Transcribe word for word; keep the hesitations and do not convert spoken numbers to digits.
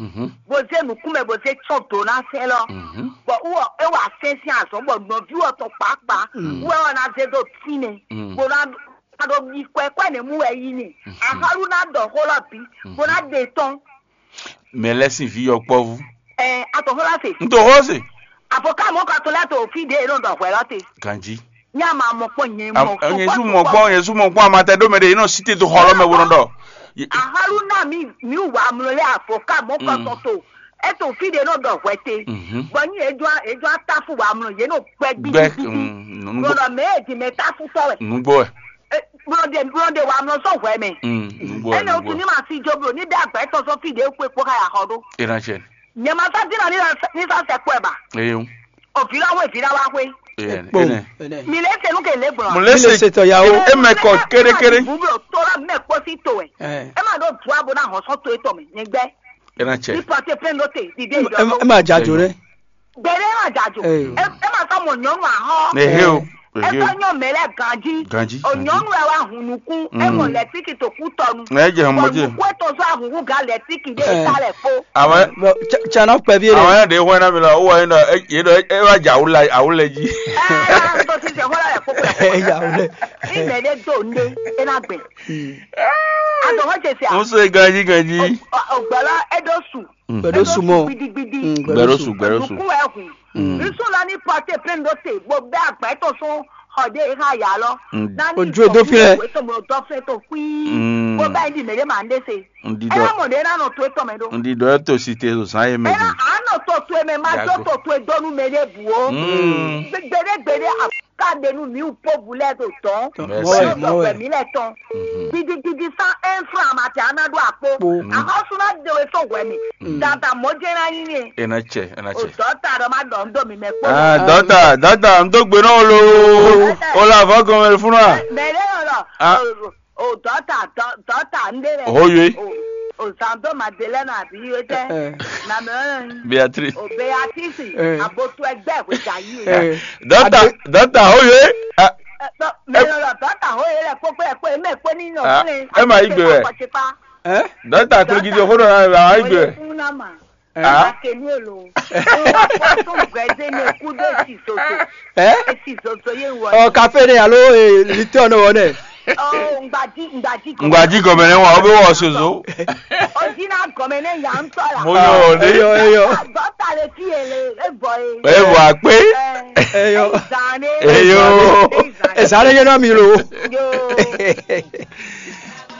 Mhm. Bó zé nǔkún mɛ bó zé tsɔ́n dǒ ná sɛ́n lɔ. Mhm. Bɔ wú ɔ é wa sɛ́n sín azɔ̌ bɔ nɔví ɔ́ tɔn kpǎkpá wú ɛ ɔ ná zé dó tínmɛ Mm. bó ná ná ɖó bí kwɛ́kwɛ́ nɛ́ mú wɛ yí ni. Axɔ́lú ná ɖɔ xó lɔ bǐ bó ná ɖe tɔ́n. Mɛ lɛ́ sín vǐ yɔkpɔ́vú. Ɛ atɔ̌xɔ́lá se. Un to xó se. Avocat mɔ̌ ka to lɛ́ to fí ɖě e nɔ ɖɔ hwɛ̌ lɔ te. Ganjí. Ní a ma mɔ kpɔ́n nyɛ mɔ Nyɛ sú mɔ kpɔ́n, nyɛ sú mɔ kpɔ́n amatɛ ɖó mɛ ɖé, yě nɔ sí te dó xɔ lɔ mɛ bó nɔ ɖɔ. Axɔ́lú ná mi mi wà mlɔ lé avocat mɔ̌ kɔ tɔn to. É to fí ɖě nɔ ɖɔ hwɛ̌ te. Mhm. Bɔ ní yě jɔ yě jɔ táfù wà mlɔ yě nɔ gbɛ Gbɛ gbígbí. Nunu Bɔlɔ mɛ e dì mɛ táfù sɔ wɛ. Nugbo wɛ. Bɔlɔ de bɔlɔ de wà mlɔ sɔ hwɛ mɛ. Mm, Nugbo wɛ. Ɛnɛ o Nugbo tún ní wɛ. Ma sí jó blo ní bɛ agbɛ tɔn sɔn fí ɖě kpé kpó ká yà xɔ ɖó. Ena tsɛ. Nyɛ ma sá dínà ní sa ní sa sɛ kpɔɛ ba. Eyo. O vǐ lɔ wɛ vǐ lɔ wá xwé. Eya Kpɔn. Ene. Ɛnɛ. Mi lè se nu ke lè gbɔn. Mo lè Mi lè se se tɔ ya o. E mɛ kɔ kérékéré. Bublo tó la mɛ kpɔsi tó wɛ. Ɛ. E ma ɖo du abo na hɔn sɔn to etɔ mɛ nyɛ gbɛ. Ena Ní tsɛ. Pɔtɛ pɛn ɖo te dìde Ɛ ìdɔ̀dọ̀. Ɛ ma dza jo nɛ. Gbɛɖe ma dza jo. Ɛ. E e ma sɔ mɔ nyɔnu ahɔ. Ehe o. Ehe o. Etɔ nyɔ mɛ lɛ ganji. Ganji, O ganji. Nyɔnu ɛ wa hun nukun. E Mm. Mɔ lɛtiki to kú tɔnu. Ɛ jɛ hɔn mɔ jɛ. Bɔ nukun etɔ sɔ ahunhun ga lɛtiki de Ɛ. Ta lɛ kpo. Àwọn Bon, tsa- tsa na kpɛ vie àwọn ɖe. Yẹn ɖe hɔn ná mi lọ, ó wà yín ɖɔ é yín ɖɔ é wá jẹ àwùlẹ àwùlẹ jí. Ɛ tó ti sɛ hɔn lɛ kpokpo lɛ. Ɛ yà wò lɛ. Ní mɛ ɖe do nde e na gbɛ. Adɔ̀wọ́ ṣe ṣe à. Mo sọ ganji ganji. Ọ̀gbọ́lá Edosu. Pẹ̀lú sùmọ́. Gbidigbidi. Gbẹ̀rọ̀sù gbẹ̀rọ̀sù. Nukun ẹ̀ hùn. Nsú lọ ní pọ́tẹ́ pé ń dó tè gbó bẹ́ẹ̀ àgbà ẹ̀ tó sún ọ̀dẹ́ ìhà yà lọ. Ojú èdè fi rẹ̀. Ètò mọ̀ dọ́ fẹ́ tó pín. Bó bá ẹ̀ di mèrè màá ń dé se. Ndidɔ Ela mo ɖe na nɔ to etɔn mɛ ɖo. Ndidɔ eto si te zan ye mɛ Ela di. A nɔ to to mɛ ma do Yago. To to donu mɛ ɖe bu o. Mm. Gbede gbede a ka de nu mi po bu lɛ do tɔn. Merci. Mɔ wɛ. Mɔ wɛ. Mi lɛ tɔn. Didi didi san un franc ma te ana do akpo. Po. Ahɔsu na de we so wɛ mi. Dada mo je na yin ye. Ena tsɛ, ena O tsɛ. Dɔta dɔ ma dɔ ndo mi mɛ kpo. Ah, dɔta, dɔta, n tó gbe náà lo. O la fɔ gɔmɛ fún wa. Mɛ ɖe yɔ lɔ. Ah. O dɔta dɔta n de lɛ. Oho yoi. O zando Madeleine abi yoi tɛ. Eh. Na mɛ. Beatrice. O Beatrice. Eh. Abotu ẹgbẹ́ ìwé jà yìí. Eh. Dɔta, dɔta, oho yoi. Ah. Mɛ lɔ dɔta ho yɛ lɛ kpokpo yɛ kpo eme kpo ni nɔ Ah, kple. Ema yi gbe wɛ. Akɔtsikpa. Eh? Dɔta kple gidi oho nɔ na wa yi gbe wɛ. Fún na ma. Eh? Ah. Akenu elo. Fún gbɛdze ne kudo esi zozo. Eh? Esi zozo ye wɔ. Ɔ kafe ne alo eh, litɔ ne wɔ ne. Oh, ngbaji ngbaji. Ngbaji gɔmɛ ne wa o be wɔ sozo. O ji na gɔmɛ ne ya ntɔ la. Mo yɔ o de. Eyo eyo. Dɔta le fi ele e bɔ e. E bɔ akpe. Eyo. Zane. Eyo. Ezane ye na mi lo. Yo.